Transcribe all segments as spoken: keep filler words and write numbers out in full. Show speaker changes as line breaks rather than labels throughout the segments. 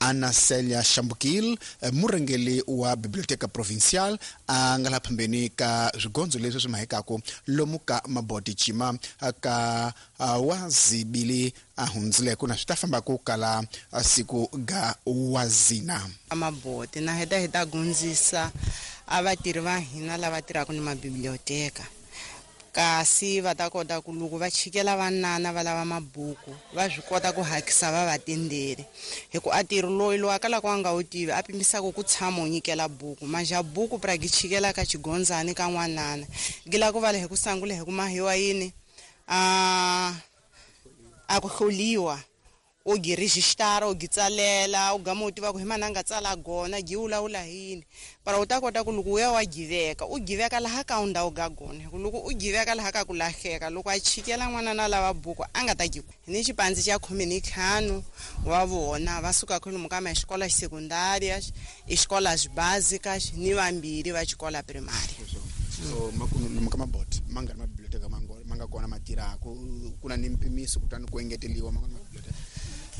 Ana Celia Shambukil, murhangeri wa Biblioteca Provincial, a nga laha phambeni ka swigondzo leswi swi mahekaku lomu ka Maboti Cima ka wazibili a hundzileko na swi ta famba ku kala siku ga wazina.
Maboti na heta hi ta gundzisa a vatirhi va hina lava tirhaka ni mabiblioteka, kasi va ta kota ku loko va chikela vanana va lava mabuku va swi kota ku hakisa va va tenderi, hi ku a tirhi loyi loyi a kalaka a nga wu tivi a pimisaka ku tshama u nyikela buku manja buku pra gi chikela ka xigondzani ka n'wanana gila ku vala hi ku sangula hi ku mahiwa yini a a ku hloliwa u gi registara u gi tsalela u gama u tiva ku hi mani a nga tsala gona gi vulavula hi yini, para u ta kota ku loko u ya wa giveka u giveka laha ka ndhawu ga gona, hi ku loko u giveka laha ka ku lahleka loko a chikela n'wana na lava buku a nga ta gi ni xipandzi xa khume ni ntlhanu wa vona va suka kwalomu ka maxikola xekundárias, escolas básicas ni vambirhi va xikola primária.
So makumu ka Maboti ma nga ri mabiblioteka ma nga kona ma tirhaka ku na ni mpimiso kutani ku engeteliwa ma mabiblioteka.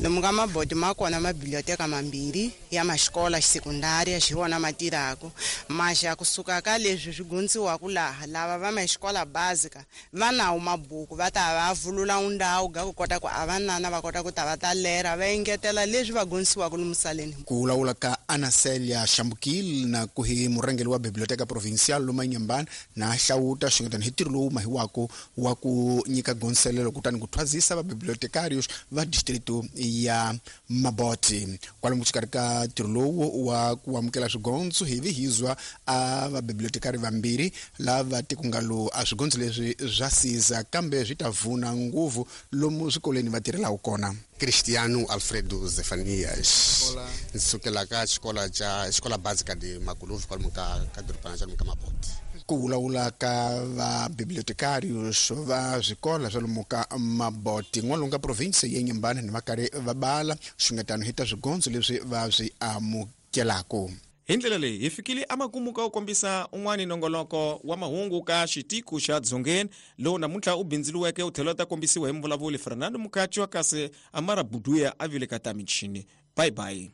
Lomu ka Maboti ma kona mabiblioteka mambirhi ya maxikola xekundária xi wona ma tirhaka, maxa kusuka ka leswi swi gundziwaka laha lava va maxikola básica va nawo mabuku va ta va vulula ndhawu ga ku kota ku a vanana va kota ku ta va ta lera va engetela leswi va gundziwaka lomu saleni.
Ku vulavula ka Ana Celia Shambukil na ku hi murhangeri wa Biblioteca Provincial lomu Inhambane na hlawuta xingetani hi ntirho lowu mahiwako wa ku nyika gonselelo kutani ku thwazisa va bibliotecarios va distrito ya Maboti. Kwalomu xikarhi ka ntirho lowu wa ku amukela swigondzo hi vihizwa a vabibliotekari vambirhi lava tikungalo a swigondzo leswi swa siza kambe swi ta vuna nguvu lomu swikolweni va tirhelaku kona.
Cristiano Alfredo Zefanias, ndzi sukela ka xikola xa xikola básica de Maculuve kwalomu ka ka dorobana xa ka Maboti.
Ku vulavula ka vabibliotecarios va swikola swa lomu ka Maboti n'walungu ka province ya Inhambane ni va karhi va bala xungetano hi ta swigondzo leswi va swi amukelaka.
Hi ndlela leyi hi fikile amakumu ka ku kombisa un'wani nongoloko wa mahungu ka xitiko xa Dzongeni lowu namuntlha u bindziliweke u tlhela u ta kombisiwa hi muvulavuli Fernando Mukhachi wa kasi Amara Buduya a vile ka ta michini. Bye bye.